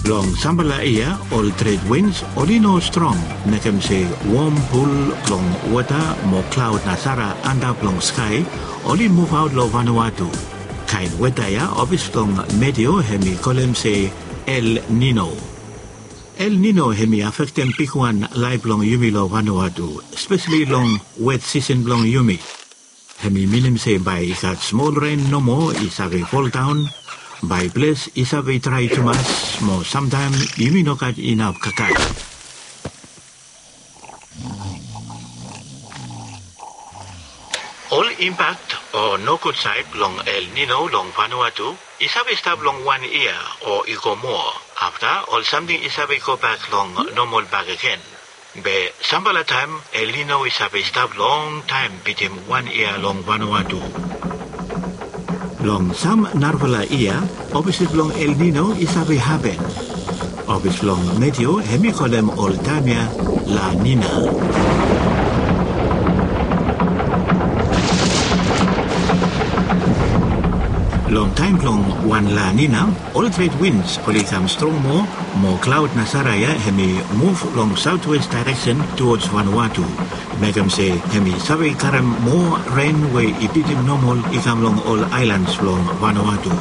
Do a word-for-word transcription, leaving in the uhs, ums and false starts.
Long sampela yia ol tred wins oli no strong, mekem se wom pul blong wota mo klaud na sara antap long skai oli muvaot long Vanuatu. Kaen weta ya ofis blong Meteo hem i kolem se El Nino. El Nino hem i afektem bigwan laef blong yumi long Vanuatu, speseli long wet sisen blong yumi. Hem i minim se bae i gat smol ren nomo i save foldaon, bae ples i save drae tumas, mo samtaem yumi no gat inap kakae. Ol impak o nogud saed blong El Nino long Vanuatu i save stap long wan yia o i go moa. Afta ol samting i save gobak long nomol bakegen. Be sampela taem El Nino i save stap longtaem bitim wan yia long Vanuatu. Long sam narafala yia, oposit blong El Nino i save hapen. Ofis blong Meteo hem i kolem ol taem ya La Nina. Long taem blong wan La Nina, ol tred wins oli kam strong moa, mo klaod na sara ya hem i muv long saotwes daereksen tuods Vanuatu, mekem se hem i save karem moa ren we i bitim nomol i kam long ol aelans blong Vanuatu.